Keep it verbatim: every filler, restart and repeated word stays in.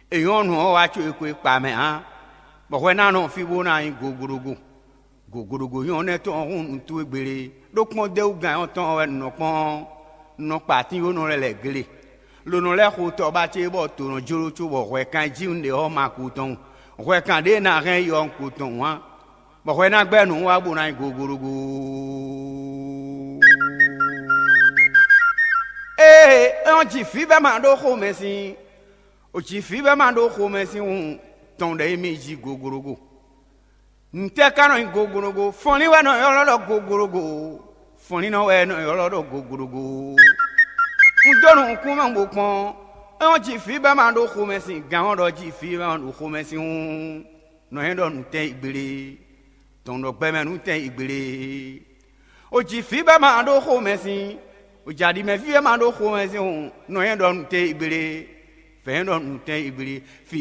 È nyɔ́ nǔ ɔ́ wá có e xwe kpa mɛ ǎ, bɔ hwɛ ná nɔ fí bó ná nyí goglogo. Goglogo nyɔ́ nɛ́ tɔn ɔ́ hún nǔ towe gbele, ɖó kpɔ́n d'é wú gán ɔ́ tɔn wɛ un nɔ kpɔ́n ɔ́, un nɔ kpa atínwónɔ lɛ́ɛ lɛ̌ gle. Lo nɔ lɛ́ xo tɔ ba ce bɔ to nɔ jló cóbɔ hwɛ kan e jí un ɖe ɔ́ ma kú tɔn. Hwɛ kan ɖě e ná hɛn yi ɔ́ un kú tɔn ǎ, bɔ hwɛ ná gbɛ́ nǔ wá bó ná nyí goglogo. Ée é ɔ́ ji fǐ bɛ́ ma ɖó xomɛ sín, ò ji fǐ bɛ́ ma ɖó xomɛ sín hǔn tɔn ɖɛ émí jí goglogo. Ntɛ́ ka nɔ nyí goglogo? Fɔnlín wɛ nɔ ylɔ́ ɖɔ goglogo. Fɔnlínnɔ wɛ nɔ ylɔ́ ɖɔ goglogo. Un dó nukúnmɛ bó kpɔ́n, é ɔ́ ji fǐ bɛ́ ma ɖó xomɛ sín gǎn ɔ́ ɖɔ ji fǐ bɛ́ ma ɖo xomɛ sín hǔn, nɔ nyɛ ɖɔ nǔtɛn igblé, tɔn ɖɔ gbɛmɛ nǔtɛn igblé. O ji fǐ bɛ́ ma ɖó xomɛ sín, o ja ɖi mɛ fí bɛ́ ma ɖó xomɛ sín hǔn, nɔ nyɛ ɖɔ nǔtɛn igblé, fɛ̌n ɖɔ nǔtɛn igblé.